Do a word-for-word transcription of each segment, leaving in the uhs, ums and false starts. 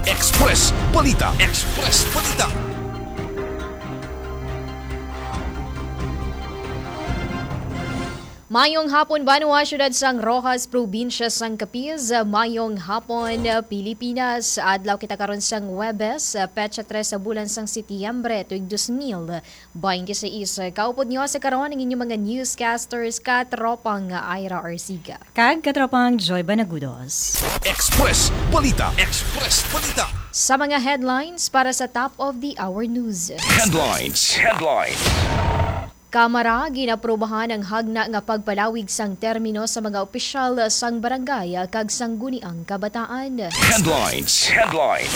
Express Balita. Express Balita. Mayong hapon, banwa, siyudad sang Roxas, probinsya sang Capiz. Mayong hapon, Pilipinas. Adlaw kita karon sang Huwebes, petsa tres sa bulan sang Setyembre, tuig dos mil baynte sais. Kaupod niyo sa karon ang inyong mga newscasters, katropang Ira Arsiga. Kag katropang Joy Banagudos. Express Balita. Express Balita. Sa mga headlines para sa top of the hour news. Headlines. Headlines. Kamara ginaprubahan ang hagna nga pagpalawig sang termino sa mga opisyal sang barangay kag sangguniang kabataan. Headlines. Headlines.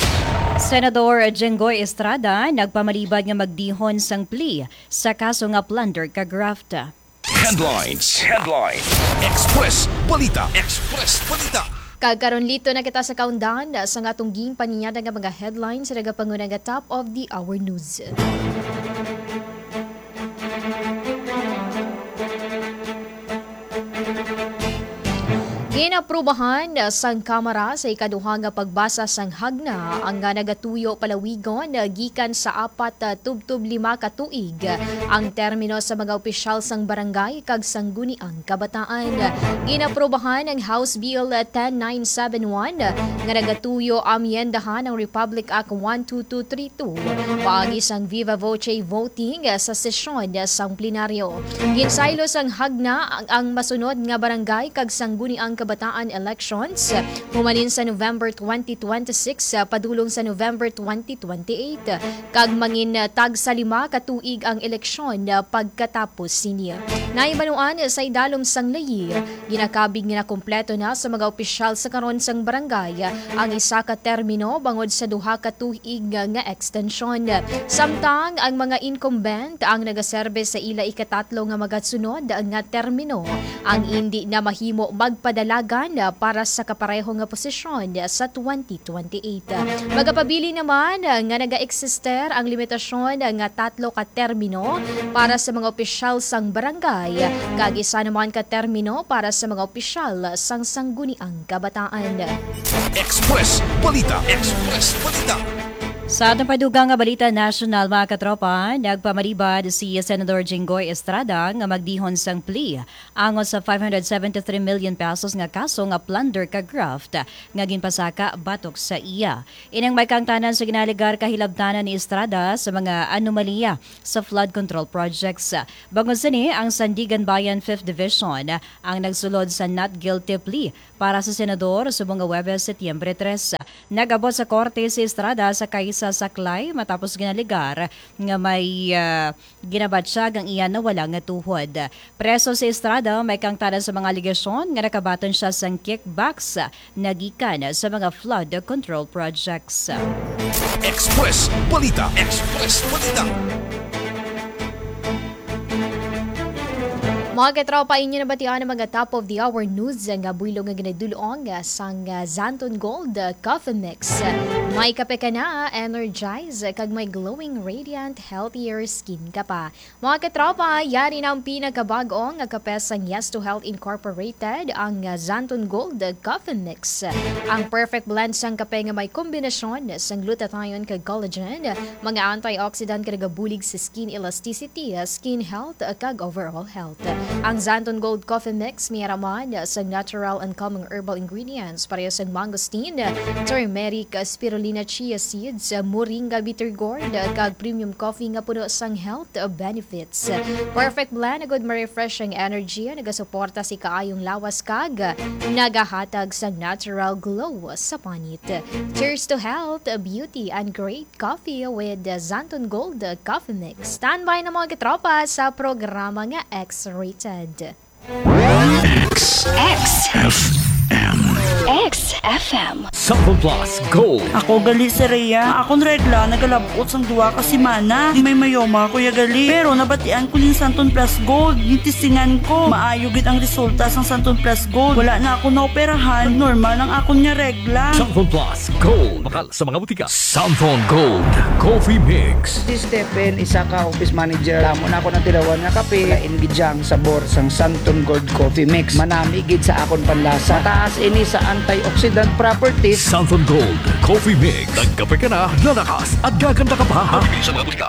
Senador Jinggoy Estrada nagpamalibad nga magdihon sang plea sa kaso nga plunder kag graft. Headlines. Headlines. Express Balita. Express Balita. Kag karon, liton na kita sa kaundan sang atong ginpaninyada nga mga headlines sa nagapanguna nga top of the hour news. Ginaprubahan sang Kamara sa ikaduha nga pagbasa sang hagna ang nga nagatuyo palawigon gikan sa apat, ah, tubtob lima ka tuig ang termino sa mga opisyal sang barangay kag sangguniang kabataan. Ginaprubahan ang House Bill ten nine seven one nga nagatuyo amyendahan ang Republic Act one two two three two paagi sang viva voce voting sa sesyon sang plenaryo. Ginsaylo sang hagna ang, ang masunod nga barangay kag sangguniang kabataan elections, humanin sa November twenty twenty-six, ah, padulong sa November twenty twenty-eight, kag mangin, ah, tagsa lima ka tuig ang eleksyon, ah, pagkatapos sini. Nahibaluan sa idalom sang layi, ginakabig nga nakumpleto na sa mga opisyal sa karon sang barangay ang isa ka termino bangod sa duha ka tuig nga extension. Samtang ang mga incumbent ang nagaserbe sa ila ikatatlo nga magasunod nga termino, ang indi na mahimo magpadalagan para sa kapareho nga posisyon sa twenty twenty-eight. Magapabilin naman nga nagaeksister ang limitasyon nga tatlo ka termino para sa mga opisyal sang barangay, kag isa naman ka termino para sa mga opisyal sang sangguniang kabataan. Express Balita. Express Balita. Sa atong padugang nga balita nasyonal, mga katropa, nagpamalibad si Senador Jinggoy Estrada nga magdihon sang plea angot sa five hundred seventy-three million pesos nga kaso nga plunder kag graft nga ginpasaka batok sa iya. Ining may kaangtanan sa ginalegar kahilabtanan ni Estrada sa mga anomalya sa flood control projects. Bangod sini, ang Sandiganbayan Fifth Division ang nagsulod sa not guilty plea para sa senador subong nga Huwebes, Setyembre tres. Nag-abot sa korte si Estrada sa kaysa saklay matapos ginalegar nga may, ah, ginabatyag ang iya nawala nga tuhod. Preso si Estrada may kaangtanan sa mga alegasyon nga nakabaton siya sang kickbacks nga gikan sa mga flood control projects. Express Balita. Express Balita. Mga katropa, inyo nabatian ang mga top of the hour news nga buylog nga ginadul-ong sang, ah, Xanthone Gold, ah, Coffee Mix. May kape ka na, energize, kag may glowing, radiant, healthier skin ka pa. Mga katropa, yari na ang pinakabag-o nga kape sang Yes to Health Incorporated, ang, ah, Xanthone Gold Coffee Mix. Ang perfect blend sang kape nga may kombinasyon sang glutathione kag collagen, mga antioxidant nga nagabulig sa skin elasticity, skin health, kag overall health. Ang Xanthone Gold Coffee Mix may ara man sang natural and calming herbal ingredients pareho sang mangosteen, turmeric, spirulina, chia seeds, moringa, bitter gourd, kag premium coffee nga puno sang health benefits. Perfect blend, agud ma-refresh ang energy, nagasuporta sa kaayong lawas, kag nagahatag sang natural glow sa panit. Cheers to health, beauty, and great coffee with Xanthone Gold Coffee Mix. Standby na, mga katropa, sa programa nga X-Rated. X. X. F M. X F M. Xanthone Plus Gold. Ako gali si Rhea. Akon regla nagalab-ot sang duha ka semana. Di may mayoma, Kuya Gali. Pero nabatian ko ning Xanthone Plus Gold. Gitisingan ko. Maayo gid ang resulta sang Xanthone Plus Gold. Wala na ako naoperahan. Normal ang akon nga regla. Xanthone Plus Gold. Bakal sa mga butika. Xanthone Gold Coffee Mix. Si Stephen, isa ka office manager. Damo na ako natilawan nga kape. Lain gid siya ang sabor sang Xanthone Gold Coffee Mix. Manami gid sa akon panlasa. Mataas ini sa antioxidant properties. Santon Gold Coffee Mix. Nagkape ka na, lalakas at gaganda ka pa. Sa mga butika.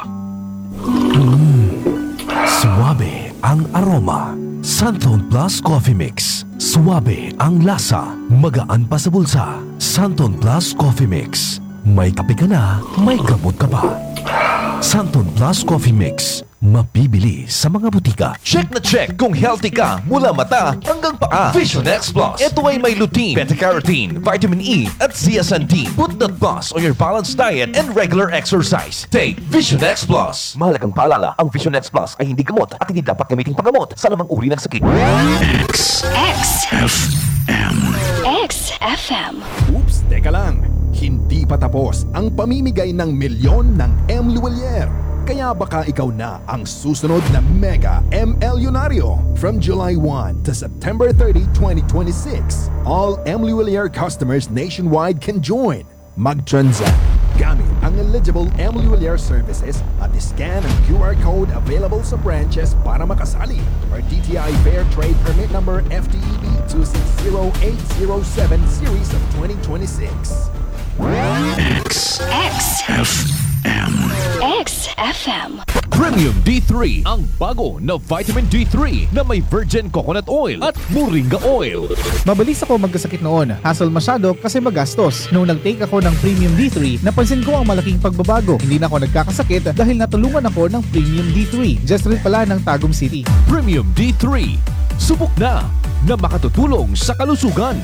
Suabe ang aroma. Santon Plus Coffee Mix. Suabe ang lasa. Magaan pa sa bulsa. Santon Plus Coffee Mix. May kape ka na, may gamot ka pa. Santon Plus Coffee Mix. Mabibili sa mga butika. Check na check kung healthy ka mula mata hanggang paa. Vision X Plus. Ito ay may lutein, beta-carotene, vitamin E, at zeaxanthin. Put the plus on your balanced diet and regular exercise. Take Vision X Plus. Mahalagang paalala, ang Vision X Plus ay hindi gamot at hindi dapat gamiting panggamot sa anumang uri ng sakit. X. X. F M. X F M. Oops, teka lang. Hindi pa tapos ang pamimigay ng milyon ng M Luwalier. Kaya baka ikaw na ang susunod na mega M L Yunaryo. From July one to September thirty, twenty twenty-six, all M Luwalier customers nationwide can join. Mag-transact gamit ang eligible M Luwalier services at scan ang Q R code available sa branches para makasali. Or D T I Fair Trade Permit Number F T E B two six zero eight zero seven series of twenty twenty-six. X. X. F M. X F M. Premium D three, ang bago na vitamin D three na may virgin coconut oil at moringa oil. Mabilis ako magkasakit noon. Hassle masyado kasi magastos. Nung nag-take ako ng Premium D three, napansin ko ang malaking pagbabago. Hindi na ako nagkakasakit dahil natulungan ako ng Premium D three. Just rin pala ng Tagum City. Premium D three. Subok na na makatutulong sa kalusugan.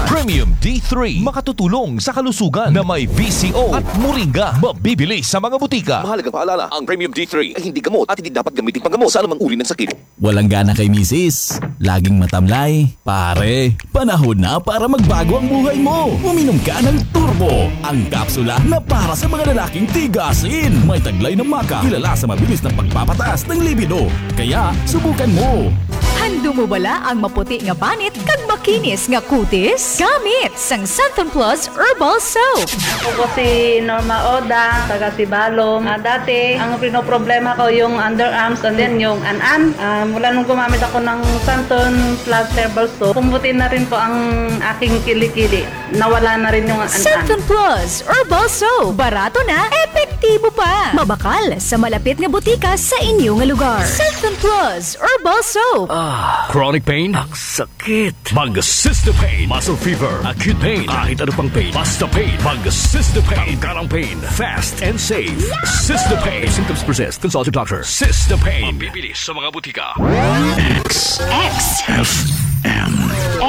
Premium D three, makatutulong sa kalusugan na may V C O at moringa. Mabibili sa mga butika. Mahalagang paalala, ang Premium D three ay hindi gamot at hindi dapat gamitin panggamot sa anumang uri ng sakit. Walang gana kay misis? Laging matamlay? Pare, panahon na para magbago ang buhay mo. Uminom ka ng Turbo, ang kapsula na para sa mga lalaking tigasin. May taglay na maca, kilala sa mabilis na pagpapataas ng libido. Kaya, subukan mo. Handom mo bala ang maputi nga banit kag makinis nga kutis? Gamit sang Santon Plus Herbal Soap. Ako po si Norma Oda, taga Sibalom. Ah, dati, ang pinoproblema ko yung underarms and then yung an-an. Ah, mula nung gumamit ako ng Santon Plus Herbal Soap, pumuti na rin po ang aking kilikili. Nawala na rin yung an-an. Santon Plus Herbal Soap. Barato na, epektibo pa. Mabakal sa malapit nga butika sa inyo nga lugar. Santon Plus Herbal Soap. Ah, chronic pain? Ang sakit. Mag Cystepain. Muscle fever, acute pain, kahit ano pang pain. Basta pain. Mag Cystepain. Tanggal ang pain. Fast and safe. Cystepain. If symptoms persist, consult your doctor. Cystepain. Mabibili sa mga butika. X. X. F M.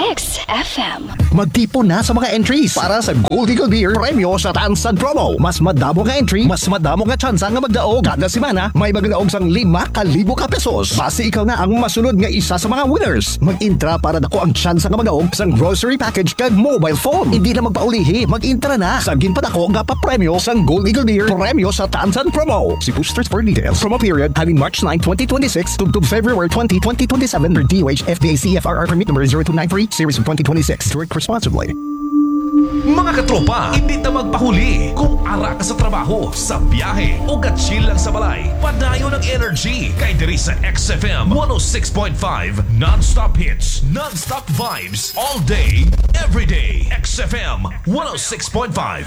X F M. Magtipon na sa mga entries para sa Gold Eagle Beer Premyo sa Tansan Promo. Mas madamo nga entry, mas madamo nga tsansa nga magdaog. Kada semana, may magdaog sang lima ka libo ka pesos. Basi ikaw na ang masunod nga isa sa mga winners. Mag-intra para dako ang tsansa nga magdaog sang grocery package kag mobile phone. Hindi na magpaulihi, mag-intra na sa ginpadako nga papremyo sang Gold Eagle Beer Premyo sa Tansan Promo. See posters for details. Promo period halin March nine, twenty twenty-six, tubtob February twenty, twenty twenty-seven, per D O H F D A C F R R permit number zero two nine three, series of twenty twenty-six. Drink responsibly. Mga katropa, hindi ta magpahuli. Kung ara ka sa trabaho, sa biyahe, o ga-chill lang sa balay, padayon ang energy. Kay diri sa X F M one oh six point five, non-stop hits, non-stop vibes, all day, every day. X F M one oh six point five.